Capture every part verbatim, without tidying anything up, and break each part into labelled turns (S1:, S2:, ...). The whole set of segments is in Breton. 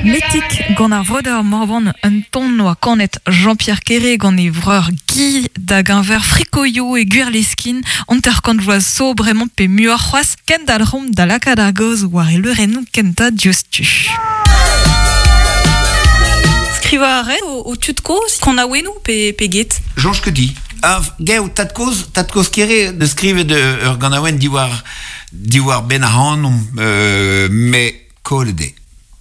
S1: Metik gant ar vreudeur Morvan un ton oa kanet Jean-Pierre Kéré gant e vreur Guy da gañver frikoio e Gwirleskin anter kant vloaz so bremañ pe muioc'h c'hoazh kendalc'homp da lakaat ar gaoz war e leurennoù kentañ diouzhtu. Skrivañ a ret o, o tud kozh kanaouennoù pe, pe get?
S2: Jean Chkedi. Ah, gev, tad kozh, tad kozh Kéré de skrivet ur ganaouenn diwar diwar ben ac'hanomp, euh, me kollet eo.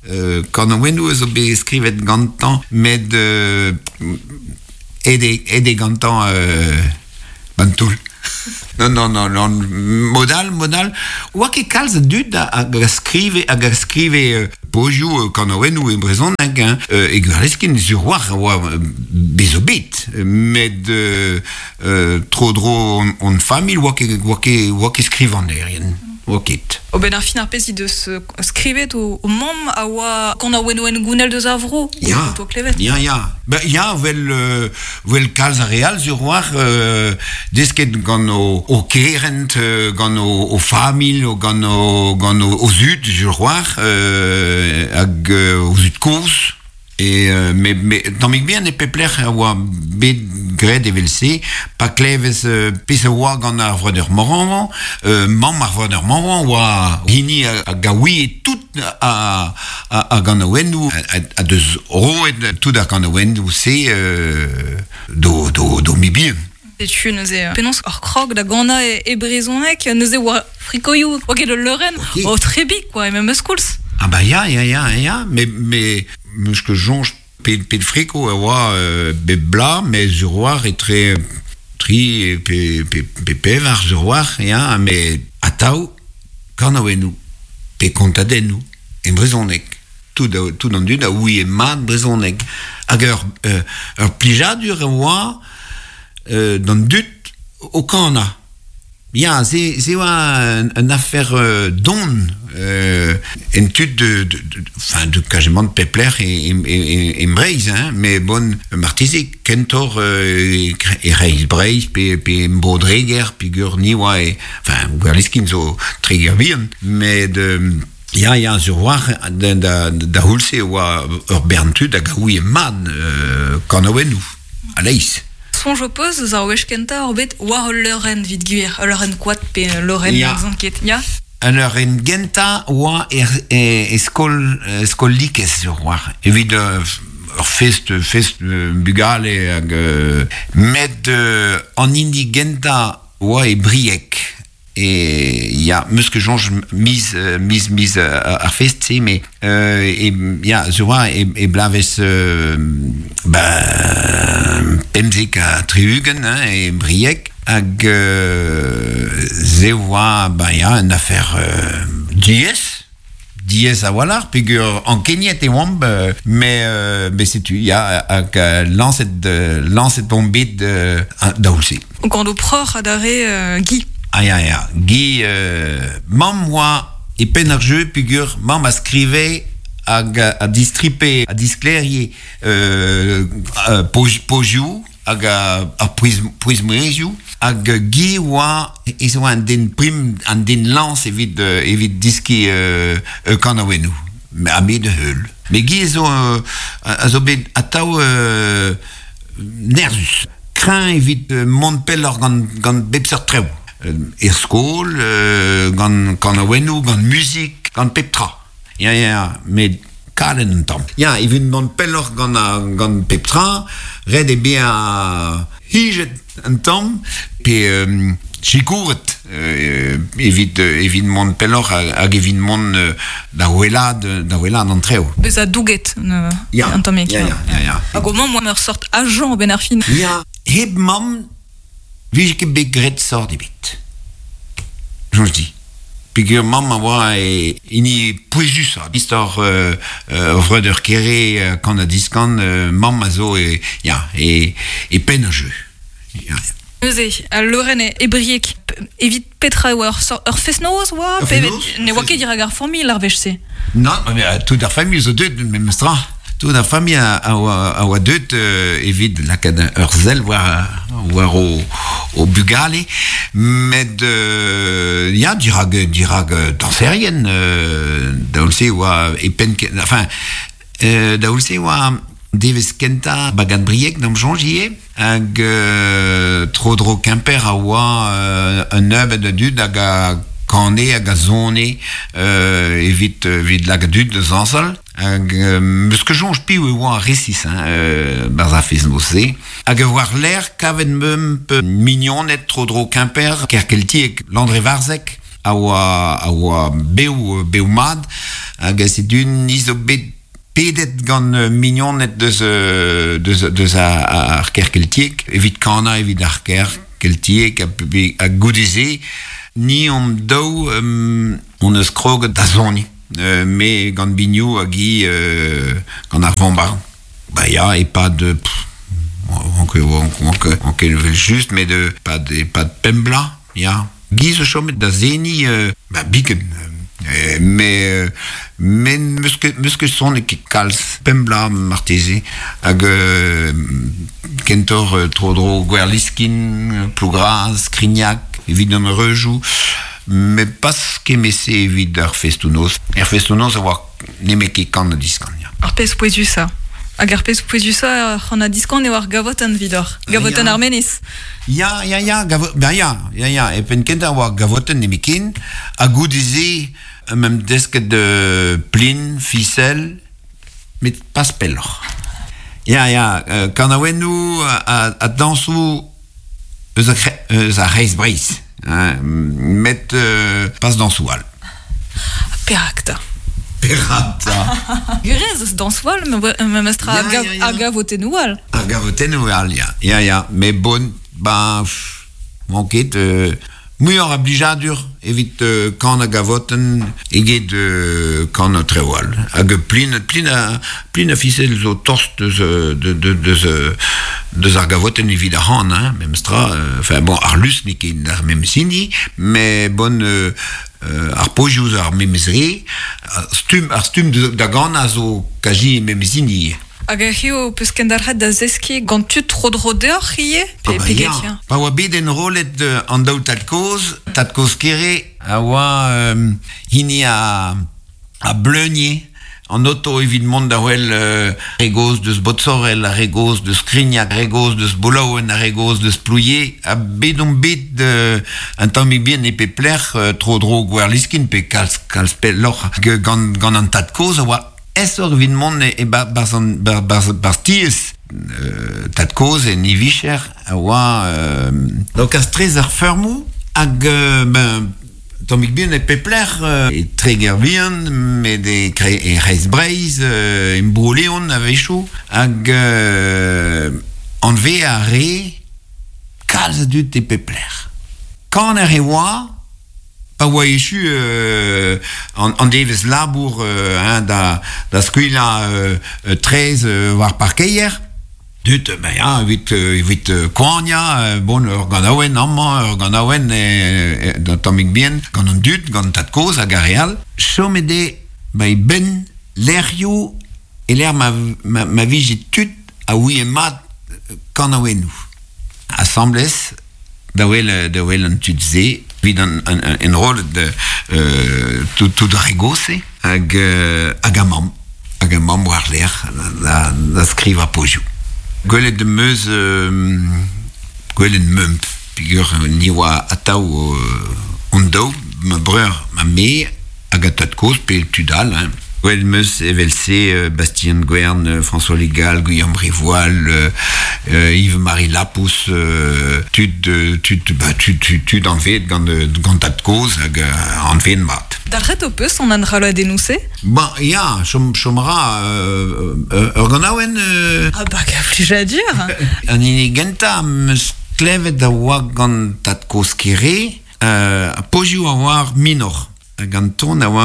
S2: Euh, kanaouennoù zo bet skrivet gantañ, met euh, ede, ede gantañ euh, ban toull. Non, non, non, non, modal, modal. Oa ket kalz a dud a, hag a skrive, hag a skrive euh, pozioù euh, kanaouennoù e brezhoneg, hein. Euh, e Gwirleskin sur war oa euh, bezo bet. Met euh, euh, tro-dro on, on familh oa ket, oa ket, oa ket skrivanerien. Oa ket.
S1: O ben ar fin ar pezh he deus euh, skrivet o, o mamm a oa kanaouennoù en gounel deus ar vro.
S2: Ya,
S1: O klevet.
S2: ya, ya. Ben, ya, vel, euh, vel kalz a real sur war euh, desket gant o, o kerent, euh, gant o, o familh, o gant o, gant o, o zud sur war, euh, hag euh, o zud kozh. E, euh, me, me, tammig bihan e pep lec'h a oa bet graet evel-se, pa klevez euh, pezh a oa gant ar vreudeur Morvan, euh, mamm ar vreudeur Morvan oa hini a, a gaouie tout a, a, a ganaouennoù, a, a, a deus roet tout ar ganaouennoù se euh, do, do, do mibien.
S1: Setu neuze penaos ur krog da ganañ e, e brezhoneg, neuze oa frikoioù, oa ket ul leurenn,
S2: Ok.
S1: o trebik, quoi, e memes koulz.
S2: Ah bah ya, ya, ya, ya, me, me, meus ket soñj pe, pe friko a oa euh, be bla, me sur war etre tri pe, pe, pe pevar sur war, ya, me atav kanaouennoù, pe kontadennoù, e brezhoneg. Tout, a, tout an dud a ouie mat brezhoneg. Hag ur, euh, ur plijadur a oa euh, d'an dud o kana. Ya, se, se oa un, un affaire euh, don euh, en tud de, de, de, enfin, de quasiment de pepler e, e, e, e Breizh, hein, mais bon, marteze, kentor euh, e Reiz Breizh, pe, pe Mbro-Dreger, pe gur ni oa, e, enfin, Gwerliskin zo Treger bihan, met de, ya, ya, sur war, da, da, da houlse oa ur bern tud hag a ouie mat euh, kanaouennoù, a leiz.
S1: Soñj ho peus eus ar wech kentañ ur bet war ul leurenn evit gwir, ul leurenn koad pe ul leurenn
S2: Ya.
S1: yeah. ket, ya?
S2: An ur en genta oa er, e, e skol, e skol likez sur war. Evit euh, ur fest, fest euh, bugale hag euh, met euh, an hini genta oa e Brieg. E ya, meus ket soñj miz, euh, miz, miz euh, ar fest se, me euh, e, ya, sur war e, e blavez euh, ba, pemzek ha tri-ugent, hein, e Brieg, hag euh, ze oa, ba ya, un affaire euh, diaes, diaes a-walc'h, peogwir ankeniet e oamp, euh, mais, euh, mais setu, ya, hag euh, lañset, euh, lañset omp bet euh, da oulse.
S1: Gant ho preur adarre euh, Guy.
S2: Ah ya, ya, Guy, euh, mamm oa e penn ar jeu, peogwir mamm a skrive hag a, a distripe, a disklerie euh, euh, poz, pozioù, hag a, a pouez, pouez-mouezioù, hag Guy oa, ez oa an den prim, an den lañs evit, euh, evit diski euh, euh, kanaouennoù, ha me da heul. Me Guy zo, euh, a zo bet atav euh, nerzus. Kreñv evit euh, mont pelloc'h gant, gant bep seurt traoù. Euh, er skol, euh, gant kanaouennoù, gant muzik, gant pep tra. Ya, ya, ya, met kalet un tamm. Ya, evit mont pelloc'h gant, a, gant pep tra, ret eo bezañ hijet un tamm, pe euh, sikouret euh, evit, euh, evit mont pelloc'h hag, hag evit mont euh, da wellaat, da wellaat an traoù.
S1: Bezañ douget euh,
S2: Ya,
S1: un tammig.
S2: ya, ya, ya, ya.
S1: Hag o mamm oa ur sort agent ben ar fin.
S2: Ya, hep mamm, vije ket bet graet sort ebet. Soñj di. Peogwir mamm a oa e hini pouezusañ. Istor euh, euh, vreudeur Kéré euh, kan ha diskan, euh, mamm a zo e, ya, e, e penn ar jeu. Ya, ya.
S1: Neuze, al leurenn e, e Brieg, evit petra e oa ur, sort, ur fest-noz oa?
S2: Ur
S1: Pe
S2: fest-noz,
S1: ne oa ket dirak ar familh ar wech-se.
S2: Non, mais euh, tout ar familh zo deut, memes tra. Tout ar familh a, a, oa, a oa deut euh, evit lakaat ur sell war, war o, o bugale, met euh, ya, dirak, dirak euh, dañserien, euh, da se oa e penn, enfin, Euh, da oulse oa devez kenta bagad briek d'am soñj ivez, hag euh, tro-dro Kemper a oa euh, un nebeud a dud hag a kane hag a zone euh, evit, evit lakaat dud da zañsal. Hag euh, meus ket soñj piv e oa resis, hein, euh, barzh ar fest-noz-se. Hag war lerc'h kavet meump mignoned tro-dro Kemper, Kerkeltiek, Landrevarzeg, a oa, a oa bev, bev mat, hag setu ni zo bet pedet gant mignoned deus, deus, deus ar, ar Kerkeltiek, evit kana evit ar Kerkeltiek, ha, ha goude-se, ni omp daou um, on eus kroget da soniñ. Euh, me gant binioù hag hi euh, gant ar vombard. Ba ya, e-pad... Pff, on on on vel just, met de, pad, e-pad pemp bloaz, ya. Guy zo chomet da seniñ, euh, ba biken. Euh, mais mais meus ket, meus ket sonet ket kalz pemp bloaz marteze hag euh, kentoc'h euh, tro-dro Gwerliskin, Plougras, Skrignak, evit an reujoù, met pas kement-se evit ar festoù-noz. Er festoù-noz a oa nemet ket kan ha diskan, ya.
S1: Ar pezh pouezusañ. Hag ar pezh pouezusañ ar c'han ha diskan eo ar gavotenn evidoc'h. Gavotenn
S2: Ya.
S1: ar menez.
S2: Ya, ya, ya, gavo, ben ya, ya, ya, e penn kentañ oa gavotenn nemetken, ha goude-se meump desket de plin, fisel, met pas pelloc'h. Ya, ya, euh, kanaouennoù ha, ha dañsoù eus a, kre- eus ar C'hreiz Breizh, hein, met euh, pas dañsoù all.
S1: Perak 'ta.
S2: Perak 'ta.
S1: Gurez eus dañsoù all, memestra
S2: Ya,
S1: a, gav,
S2: ya, ya.
S1: a gavotennoù all.
S2: Ar gavotennoù all, ya. Ya, ya, met bon, ba, pff, oan ket, euh, muioc'h a blijadur evit euh, kanañ gavotenn eget euh, kanañ traoù all. Hag plin, plin a, plin a fisel zo tost deus, euh, de, de, deus, euh, deus ar gavotenn evit ar c'han, hein, memestra. Euh, enfin, bon, ar lusk n'eo ket ar memes hini, met bon, euh, euh, ar pozioù zo ar memes re, ar stumm, ar stumm da ganañ zo kazi memes hini.
S1: Hag eo peus kendalc'het da zeskiñ gant tud tro-dro deoc'h ivez? Pe,
S2: Ah bah
S1: pe
S2: ya.
S1: get, ya.
S2: Pa oa bet enrollet euh, an daou tad-kozh, tad-kozh Kere a oa euh, hini a, a bleunie an oto evit mont da wel euh, re gozh deus Botsorel, ar re gozh deus Skrignak, ar re gozh deus Bolaouen, ar re gozh deus Plouie, ha bet on bet euh, un tammig bihan e pep lec'h euh, tro-dro Gwerliskin pe kalz, kalz pelloc'h gant, gant an tad-kozh a oa aesoc'h evit mont e, e ba, barzh an, bar, barzh, barzh tiez euh, tad-kozh en e vicher a oa euh, donc a strez ar feurmoù hag euh, ben, tammig bihan e pep lec'h euh, e Treger bihan, met e, kre, e C'hreiz Breizh, euh, e Bro-Leon a-wechoù, hag euh, anve a re kalz a dud e pep lec'h. Kaner e oa, pa oa echu euh, an, an devezh labour euh, hein, da, da skuilhañ euh, euh, traezh euh, war parkeier, dud, ben ya, evit, euh, evit euh, koaniañ, euh, bon, ur ganaouenn amañ, ur ganaouenn e, e, da tammig bihan, gant an dud, gant tad-kozh hag ar re all. Chomet eo, ba e benn lec'hioù e lec'h ma, ma, ma vije tud a ouie mat kanaouennoù. Asambles, da wel, da wel an tud se, evit an, an, an enrollet euh, tout, tout ar re gozh-se, hag, euh, hag a mamm, hag a mamm war lerc'h da, da skrivañ pozioù. Gwelet em eus, euh, gwelet meump, peogwir ni oa atav euh, hon daou, ma breur, ma me, hag a tad-kozh pe tud all, hein. Gwelet em eus evel-se euh, Bastien Guern, euh, François Legal, Guillaume Rivoal, euh, euh, Yves-Marie Lapousse, euh, tud, euh, tud, ba, tud, tud, tud anvet gant, euh, gant tad-kozh hag euh, anvet mat.
S1: Dalc'het ho peus an enrolladennoù-se?
S2: Ba, ya, chom, chom ra euh, euh, ur ganaouenn euh,
S1: Ah bah, gant plijadur.
S2: An hini gentañ am eus klevet a oa gant tad-kozh Kere, euh, pozioù a oa ar minor. Hag an ton a oa